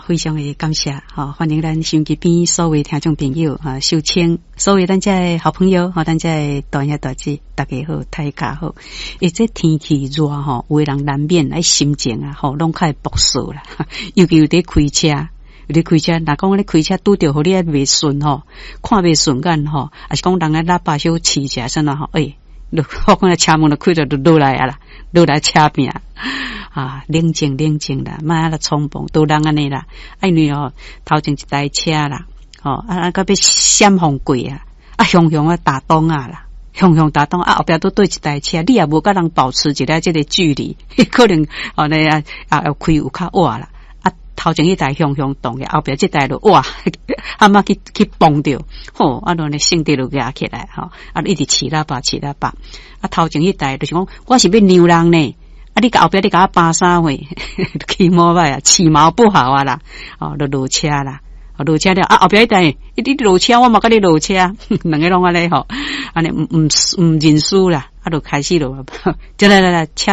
非常的感謝，吼，歡迎咱收音機邊所有聽眾朋友啊，收聽所有咱遮的好朋友，吼，咱遮的大兄大姊，大家好，大家好。欸，這天氣熱吼，有的人難免愛心情啊，吼，攏較會暴躁啦，尤其有佇開車。有佇開車，若講你開車拄著予你啊袂順吼，看袂順眼吼，抑是講人的喇叭小試一下，啥物吼，欸，我看車門就開著就落來啊啦，落來車拼啊，冷靜冷靜啦，莫按呢衝動，都人按呢啦，啊因為哦，頭前一台車啦，吼啊啊，到欲閃風過啊，啊雄雄啊打擋啊啦。雄雄打擋啊，後壁都對一台車，你也無佮人保持一下這個距離，可能哦呢啊啊開有較晚啦。啊，頭前彼台雄雄擋的，後壁這台就哇，阿媽去去碰著，吼，啊，亂咧性地就壓起來，吼，啊，一直飼喇叭飼喇叭，啊，頭前彼台就是講，我是欲讓人呢，啊，你後壁你共我扒啥貨，起毛歹啊，起毛不好啊啦，哦，就落車啦，落車了，啊，後壁彼台，你落車，我嘛共你落車，兩个攏按呢吼，按呢毋毋毋認輸啦，啊，就開始咯，來來來，車。